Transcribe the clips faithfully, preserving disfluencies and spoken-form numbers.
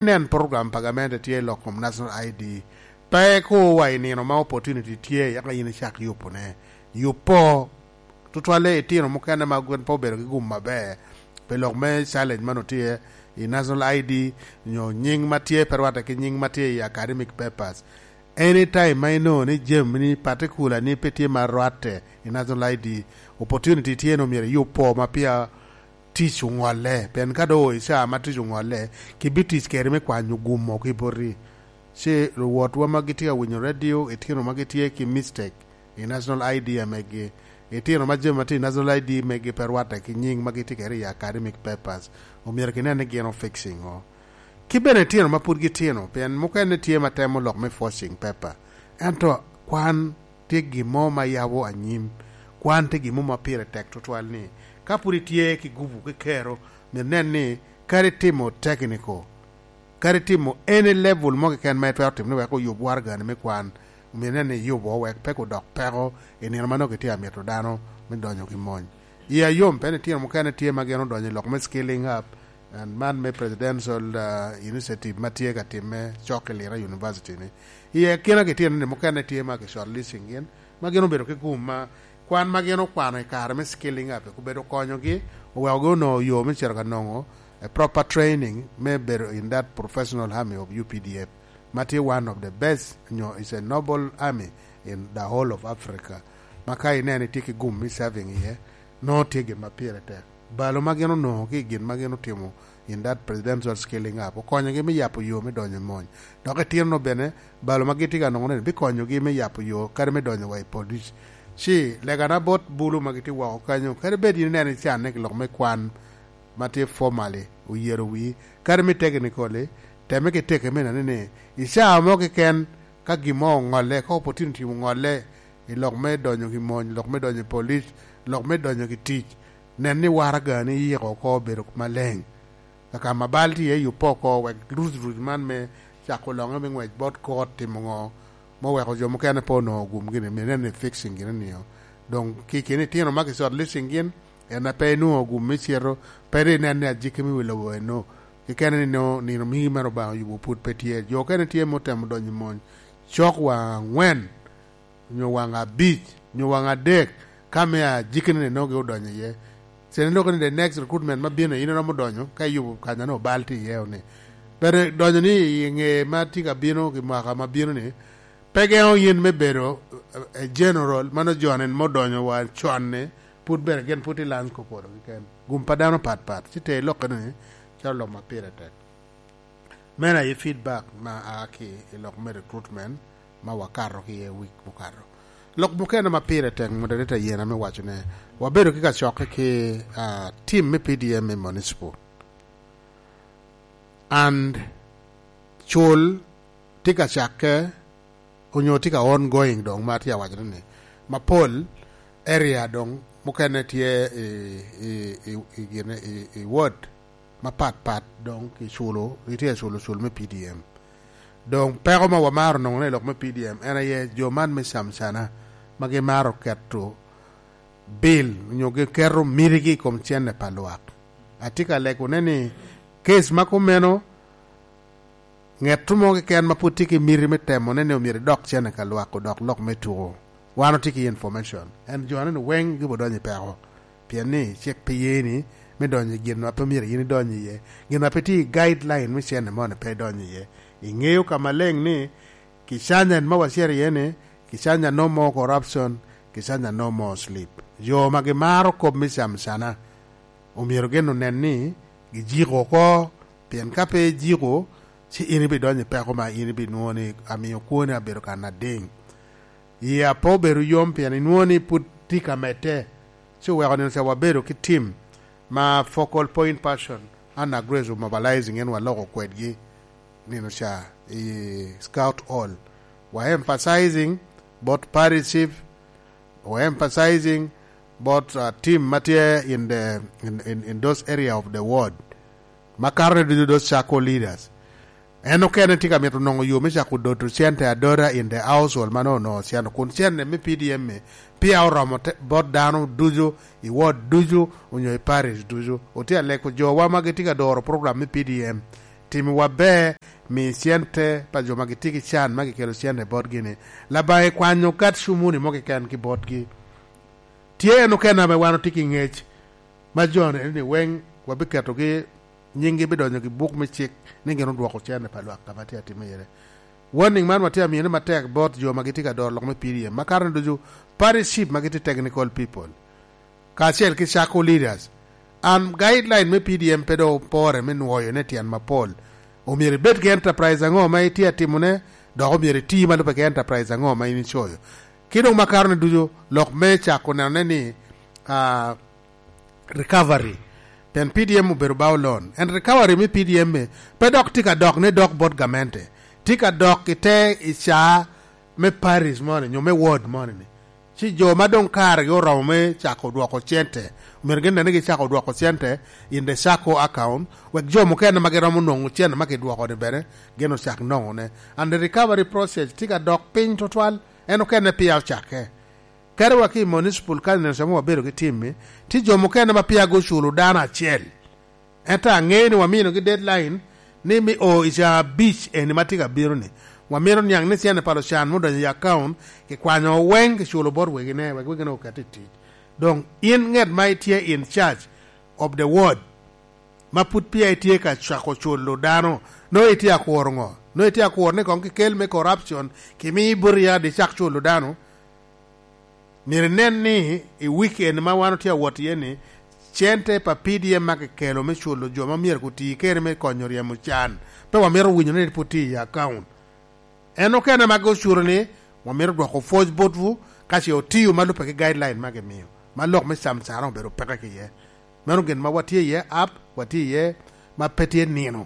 inen program pa gamente tye i lok kom National I D. Pe ko wa i nino ma opportunity tye, yaka yin icak yubone. Yub po, tutwalle itino mukene ma gin pe obedo ki gum aber, pi lok me challenge man otye i National I D, nyo nying ma tye pe rwatte ki nying ma tye i academic papers. Anytime ma inongo ni jami ni particular ni pe tye ma rwatte i National I D, opportunity tye ni omyero iyub po ma pia tic oŋolle, pien ka doŋ oo i caa ma tic oŋolle, ki bi tic kede me kwanyo gum mo ki boti. Ci luwotwa ma gitye ka winyo radio, itino ma gitye ki mistake i National I D a megi, itino ma jami ma tye i National I D megi pe rwatte ki nying ma gitye kede i academic papers, omyero ginen ni gin o fixing o. Ki bene itino ma pud gitino, pien mukene tye ma temo lok me forcing paper. Ento kwan tye gin mo ma yabo anyim. Kwan tye gin mo ma pire tek tutwal ni, ka pud itye ki gubu ki kero, myero inen ni kadi itimo technical, kadi itimo any level mo keken ma itwero timo ni wek oyub waragani me kwan, myero inen ni iyubo wek pe odok peko i nino ma nongo kitye amito dano me donyo ki mony. Iya yom, pien itino mukene tye ma gin odonyo i lok me scaling up, and man me presidential, uh, initiative ma tye ka timme cok i Lira University ni. Iye kina gitino ni mukene tye ma ki shortlisting gin, ma gin obedo ki gum ma kwan ma gin okwano i kare me scaling up, obedo konyogi, owekogi onongo yo me cito ka nongo a proper training me bedo in that professional army of U P D F, ma tye one of the best, nyo is a noble army in the whole of Africa, ma ka ineno itye ki gum me serving iye, nongo tye gin ma pire tek. Balo ma gin onongo ki i gin ma gin otimo in that presidential scaling up okonyogi me yabo yo me donyo i mony. Dok itino bene, balo ma gitye ka nongo ni bikonyogi me yabo yo kadi me donyo wa i police. Ci legana bot bulu ma gitye woko kanyo, kadi bed in ineno icanne ki lok me kwan ma tye formally oyero wii, kadi me technically, temme ki teke me neno ni i caa mo keken ka gin mo oŋolle, ka opportunity oŋolle i lok me donyo ki mony, lok me donyo i police, lok me donyo ki tic, nen ni waragani iyiko oko obedo maleng. Kaka ma bal tye iye, yubbe oko, wek ruc ruc man me cako loŋe me ngwec bot kot timo ŋo, ma oweko jo mukene pe onongo gum gini, myero inen ni fixing gini nio. Doŋ ki keni itino ma ki shortlisting gin, en a pe inwoŋo gum me cito, pe ri inen ni ajiki me wi lobo eno. Kekene ni nino, nino migi mere Obaŋa oyubo pwod pe tye. Jo okene tye ma otemo donyo i mony cok waŋ aŋwen, nyo waŋ abic, nyo waŋ adek, ka me ajikine ni nongo gi odonyo iye. Cen loko ni the next recruitment ma bino, in iromo donyo, ka iyubo kanya ni obal tye iye ni. But donyo ni i ŋe ma tye ka bino, ki mwaka ma bino ni, pe geŋo yin me bedo, eh, general, mano jo-ni ma odonyo wa con ni, pud bene gin pud tye lany ko polo keken. Gum pa dano pat pat, ci te ilokke ni, calo lok ma pire tek. Meno aye feedback ma a ki i lok me recruitment ma wakato ki iye wik mukato. Lok mukene ma pire tek mut adada yen ame waco ne, wabedo ki kacokke ki, ah, team me P D M me municipal. And cul tye ka cakke, onyo tye ka ongoing doŋ ma atye awaco ni, mapol area doŋ mukene tye i, i, i, i gine, i, i ward mapat pat doŋ ki culo, itye culo cul me P D M. Doŋ peko ma wamaro noŋo i lok me P D M en aye jo man me camcana ma gimaro keto bil onyo giketo mitigi i kom cene pa lwak. Atye ka legone ni case ma kumeno, ŋet mo keken ma pwod tye ki miti me temone ni omyero idok cene ka lwak odok lok me tuko. Wan otye ki information. En jo-ni weŋ gibo donyo i peko. Pien ni cik pe ye ni me donyo i gin ma pe myero yin idony iye. Gin ma pe tye i guideline me cene moni pe idonyo iye. Iŋeyo ka maleng ni Kicanya en ma wacito iye ni, Kicanya no more corruption, Kicanya no more sleep. Jo ma gimaro kop me camcana, omyero gin onen ni gijiko oko, pien ka pe ijiko, ci in ibidonyo i peko ma in ibinwoŋo ni amio kwoni abedo kan ading. Yie ape obedo yom pien inwoŋo ni pwod tye ka medde. Ci oweko nino ca wabedo ki tim ma focal point person, Anna Grace omobilizing en waloko kwedgi nino ca i Scout Hall. Wa emphasizing both parish chief, wa emphasizing both, uh, team ma tye in the, in, in, in those area of the ward. Ma kato ni ducu those circle leaders. En okene tye ka mito noŋo yo me cako doto cente adota in the household ma nongo onongo oceno, kun cente me P D M-mi peya oromo te, bot dano ducu, i ward ducu, onyo i parish ducu. Otye aleko jowa ma gitye ka doro program me P D M. Timiwa ber, mi cente pa jo ma gitye ki can ma gikelo cente botgi-ni. Labaŋa ikwanyo gat cumuni mo keken ki botgi. Tye en okene ame wan otye ki ŋec, ma jo-ni ni weŋ wabiketogi, nyinggi bidonyo i buk me cik ni gin odwoko cente pa lwak ka ma tye atimme iye. Warning man watye amiyone matek bot jo ma gitye ka doro lok me P D M, ma karone ducu party chief ma gitye technical people, kacel ki circle leaders. An guideline me P D M pe doŋ opore me nwoyo ne tyen mapol. Omyero ibed ki enterprise aŋo ma itye atimone, dok omyero iti ma lubbe ki enterprise aŋo ma in icoyo. Ki doŋ ma karone ducu, lok me cako nenone ni, ah, recovery. Pien P D M obedo bao loan. En recovery me P D M-mi pe dok tye ka dok ni dok bot gamente. Tye ka dok i te i ca me parish moni, nyo me ward moni-ni. Ci jo ma doŋ karegi oromo me cako dwoko cente, omyero gin nene gicako dwoko cente in the circle account, wek jo mukene ma giromo nwoŋo cente ma kidwoko-ni bene gin ocak nwoŋone. And the recovery process tye ka dok piny tutwal, en okene pia ocakke. Kadi wa ki i municipal council ame wabedo ki tim-mi, tye jo mukene ma pia guculo dano acel. Ento aŋeyo ni waminogi deadline ni me o i ca abic eni ma tye ka bino-ni, wamito niaŋ ni cente pa lucan me odonyo i account, kikwanyo weŋ, kiculo bot wegine, wek wegine oket i tic. Doŋ in ŋet ma itye in charge of the ward, ma pud pia itye ka cako culo dano, nongo itye akuro ŋo? Nongo itye akuro ni koŋ kikel me corruption, kimi boti ya di cak culo dano? Myero inen ni i weekend ma wan otye awot iye-ni, cente pa P D M ma kikelo me culo jo ma myero guti kede me konyo ryemo can, pe wamito winyo ni pwod tye i account. En okene ma ocuto ni wamito dwoko pwoc botwu, ka ce otio ma lubbe ki guideline ma gimio, ma lok me cam cara obedo peke ki iye. Meno gin ma watye iye ap, watye iye ma pe tye nino.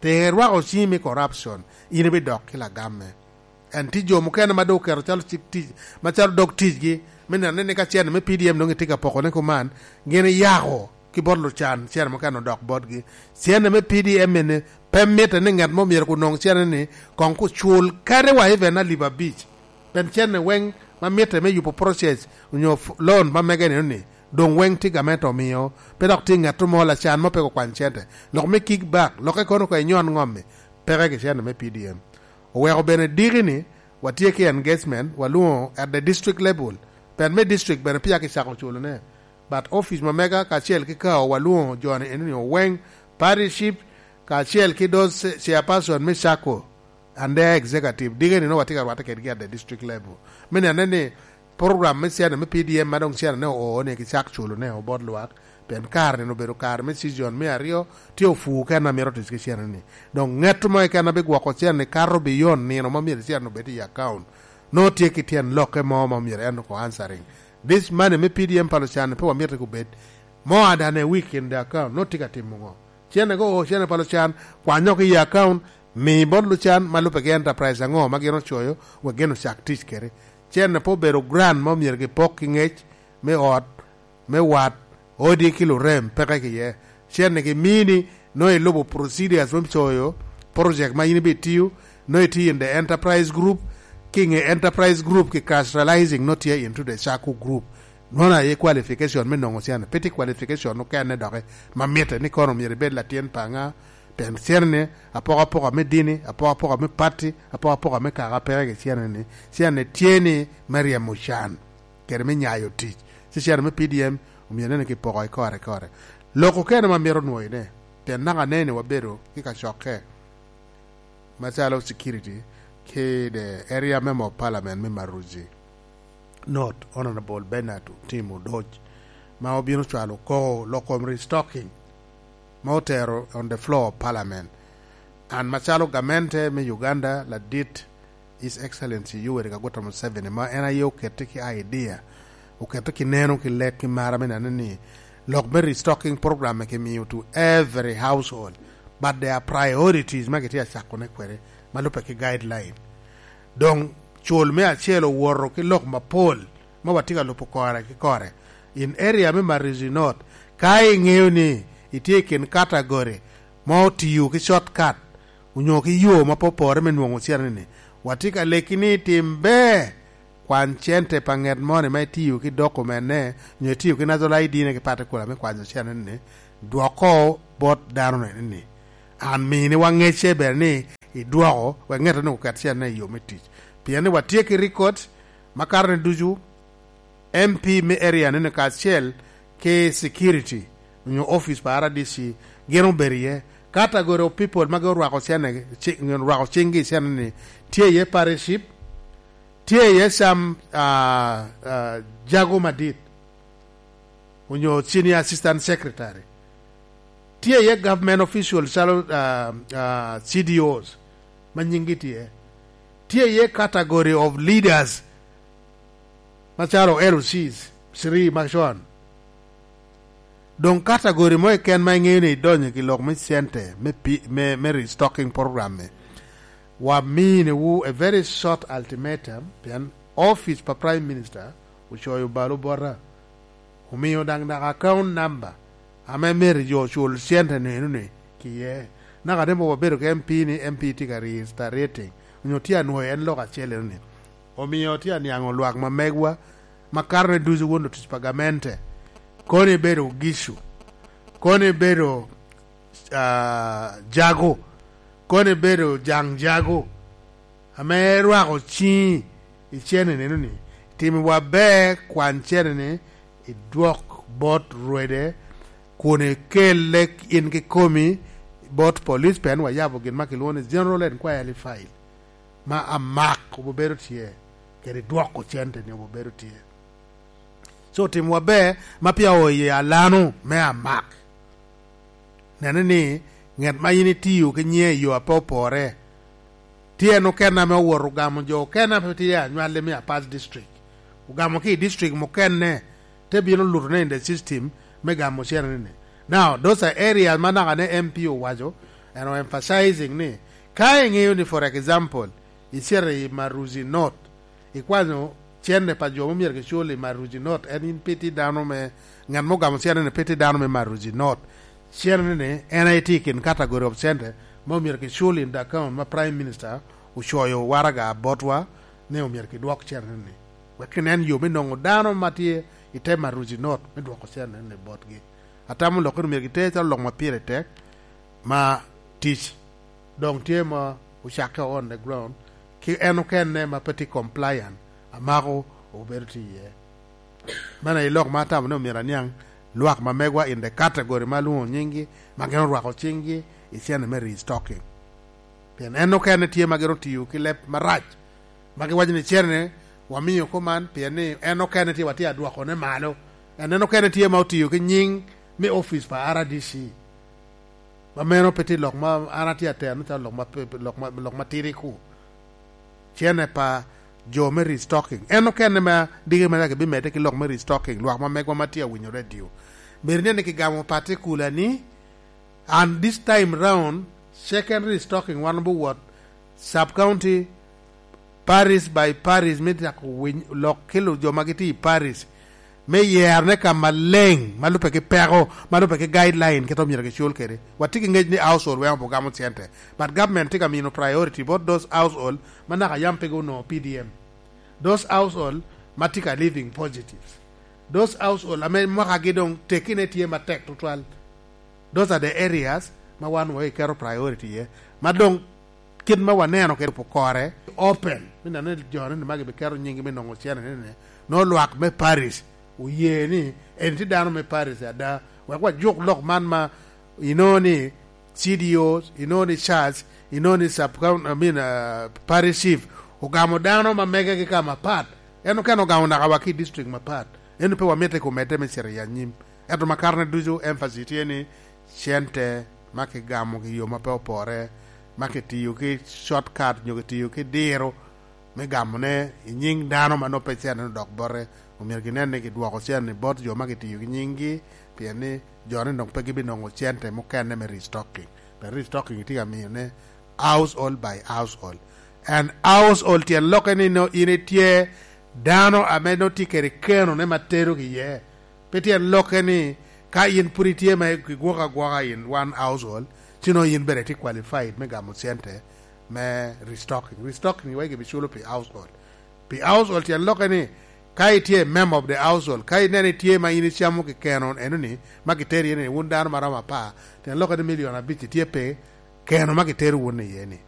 Te rwako ciŋi me corruption, in ibidok ki lagamme. En tye jo mukene ma doŋ oketo calo cik tic, macalo dog ticgi, me neno ni ka cene me P D M doŋ itye ka pokone kuman, gin iyako ki bot lucan, cene mukene odok botgi. Cene me P D M eni pe mitte ni ŋat mo myero kunoŋ cene-ni koŋ kucul kadi wa even alip abic. Pien cene weŋ ma mitte me yubo process onyo f-, loan ma mege ni, doŋ weŋ tye gamente omio, pe dok tye ŋat mo lacan mo pe kukwany cente. Lok me kick back, lokke kono ka inyon ŋom-mi, peke ki cente me P D M. Oweko bene diki ni watye ki engagement, walwoŋo at the district level. Pien me district bene peya kicako culone. But office ma mega kacel ki kao walwoŋo jo-ni eno ni oweŋ, parish chief, kacel ki do ce-, chairperson me circle and their executive, diki ni nongo watye ka rwatte kedgi at the district level. Me nene ni program me cene me P D M ma doŋ cene ne oo ni gicak culo ne obot lwak, pien kare ni obedo kare me season me aryo, tye ofuu kene a mito tic ki cene ni. Doŋ ŋet mo keken a bigwoko cene ni kato beyond nino ma myero cene obed i account. Nongo tye ki tyen lokke mo ma myero en oko answering. This money me P D M pa lucan pe wamito kubed more than a week in the account. Nongo tye ka timo ŋo? Cene go, oo, cene pa lucan, kwanyo ki i account, mi bot lucan ma lubbe ki enterprise aŋo ma gin ocoyo, wek gin ocak tic kede. Cene pe obedo grant ma myero gipok ki ŋec me ot, me wat, odi ki lurem, peke ki iye. Cene gimini, nongo ilubo procedures me coyo project ma in ibitiyo, nongo itiyo in the enterprise group, ki ŋe enterprise group ki crystallizing, nongo tye into the circle group. Nongo aye qualification me nongo cene, pe tye qualification okene doki ma mitte ni kono myero ibed latyen paŋa, pien cene-ni apokapoka me dini, apokapoka me pati, apokapoka me kaka peke ki cene-ni. Cene tye ni me ryemo can kede me nyayo tic. Ci cene me P D M omyero nen ni kipoko i kore i kore. Lok okene ma mito nwoyone, pien naka anene wabedo ki kacokke macalo security ki the area member of parliament me Maruzi North, Honorable Bernard Otim Odoc, ma obino cwalo koko lok kom restocking ma otero on the floor of parliament. An macalo gamente me Uganda, ladit His Excellency Yoweri Kaguta Museveni, ma en aye okette ki idea, okette ki neno, ki lek, ki mara me neno ni lok me restocking program kimiyo to every household, but there are priorities ma kitye acakone kwede ma lubbe ki guideline. Doŋ cul me acel owoto ki lok mapol ma watye ka lubo kore ki kore. In area me Maruzi North, ka iŋeo ni itye i kin category ma otiyo ki shortcut, onyo ki yo ma pe opore me nwoŋo cene-ni, watye ka leki ni tim ber, kwany cente pa ŋet moni ma itiyo ki dokumenne, onyo itiyo ki national I D-ne ki patikula me kwanyo cene-ni, dwoko bot dano-ni. An mini wa ŋecce ber ni idwoko, wek ŋet onwoŋo oket cene i yo me tic. Pien ni watye ki record ma karone ducu, M P me area ni kacel ki security onyo office pa R D C gin obedo iye. Category of people ma gin orwako cene, ci-, orwako cinggi i cene ni, tye iye parish chief, tye iye some, ah, ah, jago madit, onyo senior assistant secretary. Tye iye government officials calo, ah, ah, C D Os ma nyinggi tye. Tye iye category of leaders macalo L Cs, three macon. Doŋ category mo keken ma iŋeo ni idonyo i lok me cente me pi-, me, me restocking program-mi, waminiwu a very short ultimatum, pien office pa Prime Minister ocoyo balo bota, omio daŋ naka account number ame myero jo ocul cente neno ni kiye. Naka ni mom wabedo ki M P ni M P tye ka reiterating, onyo tye anwoyo en lok acel eno ni. Omio tye aniaŋo lwak ma megwa, ma karone ducu won otic pa gamente, kono ibedo Gicu, kono ibedo, ah, Jago, kono ibedo Jaŋ Jago, ame rwako ciŋi i cene neno ni, timiwa ber kwan cene ni idwok bot rwede, kun ikelle in kikomi bot police, pien wayabo gin ma kilwongo ni General Inquiry File. Ma amak obo bedo tye, kede dwoko cente ni obo bedo tye. So, timwa ber ma pia oo i alano me amak. Nene ni ŋet ma in itio ki nyiŋe i yo a pe opore, tye en okene ame owoto ogamo jo okene a pe tye anywalli me Apal District. Ogamo ki i district mukene, te bino luto ne in the system me gamo cene ni. Now, those are areas ma naka ne M P owaco, and emphasizing ni, ka iŋeo ni, for example, icito i Maruzi North, ikwanyo cene pa jo ma myero kicul i Maruzi North, en in pe itye dano me, ngat ma ogamo cene ni pe itye dano me Maruzi North. Cene ni, en aye tye i kin category of cente ma myero kicul in the account ma Prime Minister ocoyo waraga botwa ni omyero kidwok cene ni. Wek kinen yo me nongo dano ma tye i te Maruzi North me dwoko cene ni botgi. Atamo lok ni myero giter calo lok ma pire tek, ma tic doŋ tye ma ocakke on the ground, ki en okene ma pe tye compliant, amako obedo tye iye. Meno aye lok ma atamo ni omyero aniaŋ lwak ma megwa in the category ma alwoŋo nyinggi, ma gin orwako ciŋgi i cene me restocking. Pien en okene tye ma gin otiyo ki leb marac, ma giwaco ni cene wamiyo kuman, pien ni en okene tye watye adwokone malo. En, en okene tye ma otiyo ki nying me office pa R D C. Ma meno pe tye lok ma an atye ateno calo lok ma pe, lok ma, lok ma tidi ku. Cene pa jo me restocking. En okene ma diki ma dok ebimedde ki lok me restocking, lwak ma megwa ma tye awinyo radio. Myero inen ni kigamo particular ni, and this time round, second restocking wan obiwot sub county, parish by parish, me cako winy lok kelo jo ma gitye i parish, me yerone ka maleng, ma lubbe ki peko, ma lubbe ki guideline, kit omyero kicul kede. Watye ki ngec ni household weng obugamo cente, but government tye ka mino priority bot those household ma naka yam pe onongo P D M. Those household ma tye ka living positives. Those household ame mwakagi doŋ tekine tye matek tutwal. Those are the areas ma wan wa iketo priority iye. Ma doŋ kit ma waneno kede po kore open, me neno ni jo ni magi biketo nyinggi me nongo cene ni, ni, no lwak me parish oye ni en tye dano me parish ada. Wek wajuk lok man ma, you know, ni C D Os, you know, ni church, you know, ni sub coun-, I mean, uh, parish chief, ogamo dano ma megegi ka mapat. En okene ogamo naka wa ki district mapat. En pe wamite kumedde me cito i anyim. Ento ma karne ducu emphasis tye ni cente ma kigamo ki yo ma pe opore, ma kitiyo ki shortcut nyo kitiyo ki diro me gamone i nying dano ma nongo pe cente odok bote, omyero ginen ni gidwoko cente bot jo ma kitiyo ki nyinggi, pien ni jo ni dong pe gibinongo cente mukene me restocking. Pien restocking tye ka miyone household by household. And household tyen lokke ni nongo in itye dano ame nongo tye kede kenone ma terogi iye. Pe tyen lokke ni ka in pwod itye ma igwoko agwoka in one household, ci nongo in bene itye qualified me gamo cente me restocking. Restocking iwaci kibiculo pi household. Pi household tyen lokke ni ka itye member of the household, ka ineno itye ma in icamo kekeno eno ni, ma kiteri iye ni wun dano ma romo apar, tyen lokke ni milion abic itye pe, keno ma gitero won iye ni,